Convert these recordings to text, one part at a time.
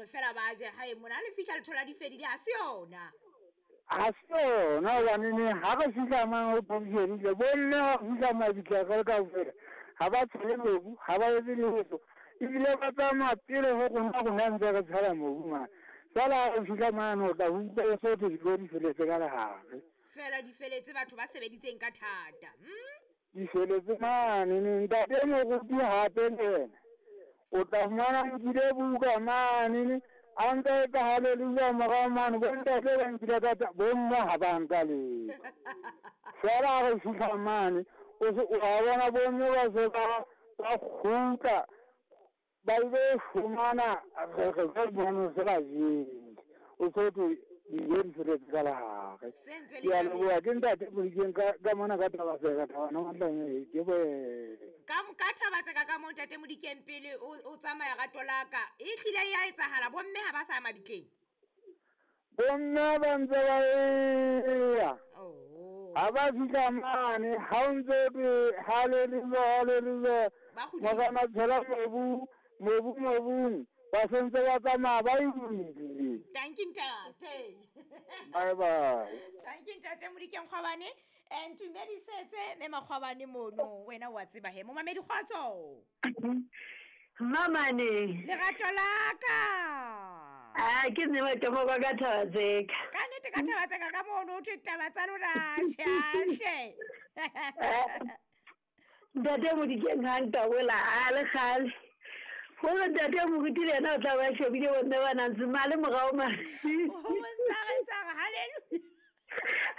gore fela ba je gae mona le fitlha le thola di fedile ga se yona. Ga se yona gobanene ga re fitlha mang go phedišedile bomme ga re fitlha mabitla ka le kaofela ga ba tshele mobu ga ba etse letho ebile ba tsamaya pele go rona rona ntse re tshela mobu mane fela ga re fitlha mane o tla utlwa e sotho dijo di feletse ka legare. Fela di feletse batho ba sebeditseng ka thata. Di feletse mane ne ntate moruti gape le ena o tla fumana nkile buka mane ne a ntse a etsa haleluya morao mane bontate ba nkile ka bomme ga ba nka letho fela ga re fitlha mane o a bona bomme ba se ba kgutla ba ile fumana re re mono se ba jele o sotho dijo di feletse ka legare. Se ntse le Ke a leboha ke ntate Modikeng ka mona ka taba tseka tabana matlanye ke bo ka thaba tseka ka mo ntate Modikeng pele o tsamaya rato la ka e tlile ya etsahala bomme ha ba sa ya mabitleng. Bomme ba ntse ba eya Oh. ha ba fitlha mane ha o ntse te haleluya haleluya Ba kgutlile. morena tshela mobu mobu mobung ba sentse ba tsamaya ba ile. Thank you ntate. Bye bye. Thank you ntate Modikeng Kgwabane. Ntumedisetse mme Makgwabane mono wena wa tseba he momamedi kgotso. Mamane. Lerato la ka. A ke nne matemo kwa ka thaba tseka. Ka nnete ka thaba tseka ka mono o thwe taba tsa lona tjhe. Ntate Modikeng ha ntabola a le kgale. Gore ntate moruti le ena o tla ba shebile bomme ba nang ntse male morao mane. O montsare tsare hallelujah.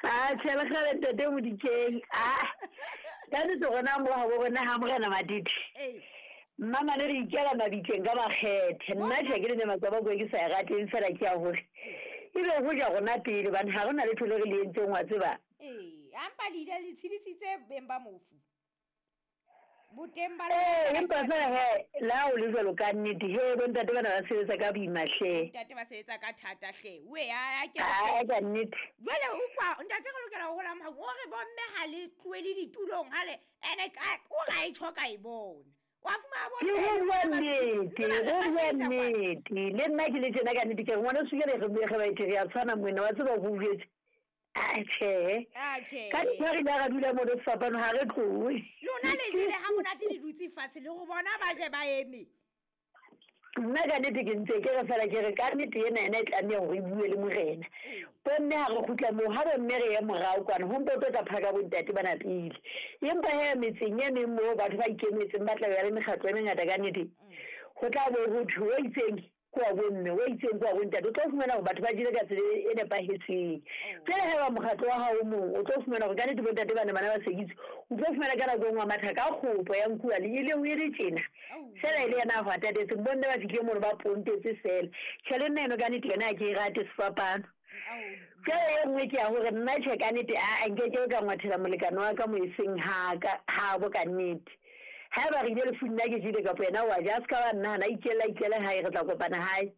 A tjhe le kgale ntate Modikeng. A ka nnete rona mo habo rona ha morena Matete. Eh. Mmamane re ikela mabitleng ka makgethe. Nna tjhe ke le ne matswaba ko ke sa e rateng fela ke ya hore ebe ho ja rona pele hobane ha rona letho le re le entseng wa tseba. Eh, ampa le ile le tshedisitse beng ba mofu. Boteng ba Ee, empa fela he la o le jwalo ka nnete he bontate bana ba sebetsa ka boima hle. Ntate ba sebetsa ka thata hle. We a ke Ai ka nnete. Jwale utlwa ntate re lokela ho hola mha o re bomme ha le tlohele ditulong ha le ene ka o ra e tjho ka e bona. Wa fumana Ke ho bua nnete, ho bua nnete. Le nna ke le tjena ka nnete ke re ngwana suke re re ba ete re a tshwana moena wa tseba ho jwetse. A tjhe. Ah tjhe. Ka ntho re ile ra dula mo re fapano ha re tlohe. Lona le jele ha monate le dutse fatshe le go bona ba je ba eme. Nna ka nnete ke ntse ke re fela ke re ka nnete ena ena e tlameha hore e bue le morena. Bomme ha re kgutla moo ha bomme re ye morao kwana ho mpo tlo tla phaka bontate bana pele. Empa he metseng e meng moo batho ba ikemetseng ba tla be ba le mekgatlo e mengata ka nnete. Ho tla bo ho thwe o itseng ke wa bomme, o itseng ke wa bontate. O tlo fumana hore batho ba jele ka tsela e nepahetseng. Jwale haeba mokgatlo wa hao o mong o tlo fumana hore ka nnete bontate bana bana ba sekitse. O tlo fumana ka nako e nngwe a matha ka kgopo ya nkuwa le ile o e le tjena. Fela e le yena a hwatatetseng bomme ba fihlile mono ba pontetse fela. Tjhe le nna eno ka nnete yona ha ke e rate sefapano. Jwale e nngwe ke ya hore nna tjhe ka nnete aa nkeke ka ngwathela molekane wa ka mo e seng haka habo ka nnete. Haeba re ile lefung nna ke jele kapa yena wa ja, a se ka wa nnahana, a ikelle hae re tla kopana hae.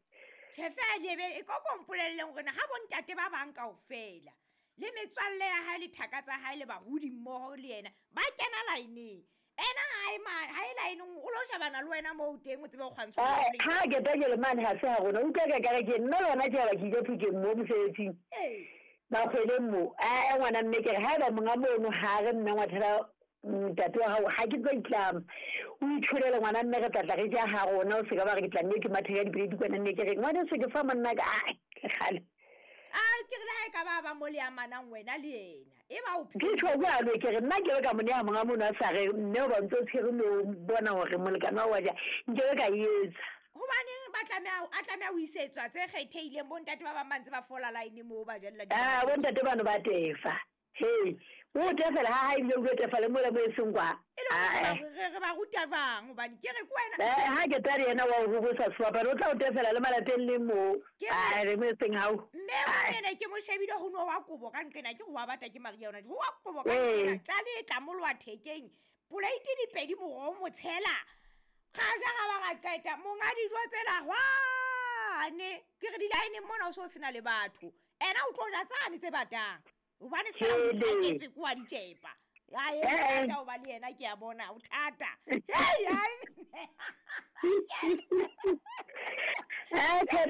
Tjhe fela ebe e koko mpolelleng hore na ha bontate ba bang kaofela le metswalle ya hae le thaka tsa hae le bahodi mmoho le yena ba kena line-eng. Ena ha e line-eng o lo shebana le wena moo teng o tsebe ho kgwantsha Ai, ha ke tla mane ha se ha rona utlwa ka kare ke nna le hona ke ba ke ile Phokeng mo mosebetsing. Ee. Makgweleng mo. Ai ngwana mme ke re haeba monga mono ha re mme ngwathela ntate wa hao ha ke tlo itlama. O itholele ngwana mme re tla tla re ja ha rona o se ka ba re ke tla nne ke mathe ka dipele kwana nne ke re ngwana se ke fa monna ka ai kgale. A ke re le ha e ka ba ba mo le amanang wena le yena e ba o Ke tjho jwalo ke re nna ke be ka mo neha monga mono a sa re mme o ba ntse o tshwere moo bona hore molekane wa ja nke be ka e etsa. Hobaneng ba tlameha a tlameha ho isetswa tse kgethehileng bontate ba bang ba ntse ba fola line moo ba jella Ah bontate bano ba tefa. Hey, o tefela ha ha ebile o tlo tefa le mola mo e seng kwa. E le hore re ba ruta jwang hobane ke re ke wena. Ha ke tla re yena wa ho bosa sefapano o tla o tefela le malapeng le moo. Ah re mo e seng hao. Mme ene ke mo shebile ho no wa kobo ka nqena ke ho wa bata ke Maria yona. Ho wa kobo ka nqena tjale e tlamoloha thekeng. Poleiti di pedi moroho motshela. Ga ja ga ba ga qeta monga dijo tsela hwane. Ke re di-line mona o so sena le batho. Ena o tlo ja tsane tse batang. Hobane fela o thaketswe ke wa ditjepa. Ai thata o ba le yena ke a bona o thata. Hei ai. Eh thata